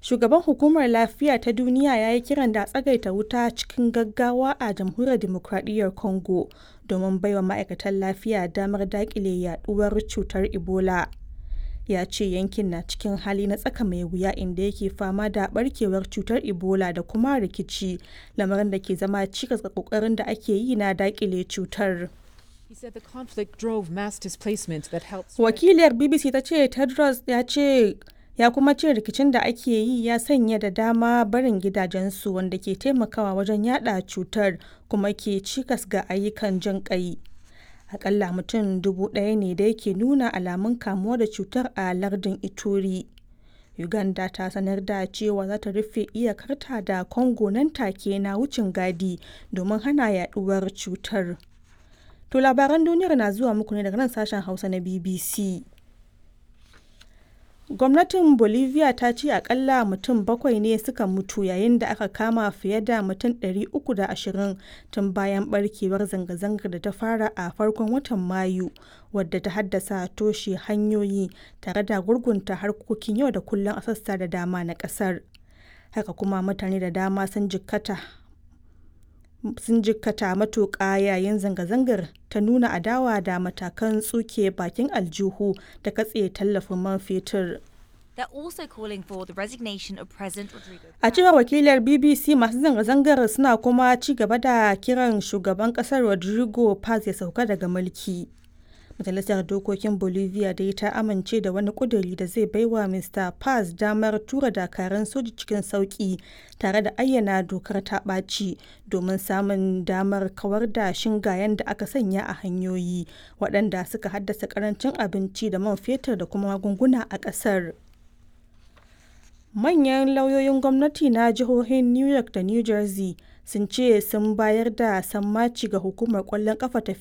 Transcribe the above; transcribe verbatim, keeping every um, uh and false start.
Shugaban Hukumar Lafiya ta Duniya ya yi kiran da a tsagaita wuta cikin gaggawa a Jamhuriyar Dimokradiyyar Congo domin baiwa ma'aikatan lafiya damar daƙile yaɗuwar cutar Ebola. Ya ce yankin na cikin hali na tsaka mai wuya inda yake fama da barkewar cutar Ebola da kuma rikici, lamarin da ke zama cikas ga kokarin da ake yi na dakile cutar. He said the conflict drove mass displacement that helped. Wakiliyar B B C ta ce Tedros ya ce ya kuma ce rikicin da ake yi ya sanya da dama barin gidajensu, wanda ke taimakawa wajen yada cutar kuma ke cikas ga ayyukan jin kai. Akalla mutum dubu ɗaya ne da yake nuna alamun kamuwa da cutar a lardin Ituri. Uganda ta sanar da cewa za ta rufe iyakarta da Congo nan take na wucin gadi domin hana yaduwar cutar. To, labaran duniyar na zuwa muku ne daga nan sashen Hausa na B B C. Gwamnatin Bolivia ta ce akalla mutum bakwai ne suka mutu yayin da aka kama fiye da mutum ɗari uku da ashirin tun bayan barkewar zanga-zangar da ta fara a farkon watan Mayu, wadda ta haddasa toshe hanyoyi tare da gurgunta harkokin yau da kullum a sassa da dama na kasar. Haka kuma mutane da dama sun jikkata sun jikkata matuƙa yayin zanga-zangar ta nuna adawa da matakan tsuke bakin aljihu da katse tallafin man fetur. They're also calling for the resignation of President Rodrigo. A cewar wakilar B B C, masu zanga-zangar suna kuma ci gaba da kiran shugaban kasar Rodrigo Paz ya sauka daga mulki. Majalisar Dokokin Bolivia dai ta amince da wani kuduri da zai baiwa Mister Paz damar tura dakarun soji cikin sauki tare da ayyana dokar ta ɓaci domin samun damar kawar da shingayen da aka sanya a hanyoyi, waɗanda suka haddasa karancin abinci da man fetur da kuma magunguna a ƙasar. Manyan lauyoyin gwamnati na jihohin New York da New Jersey sun ce sun bayar da sammaci ga hukumar kwallon kafa ta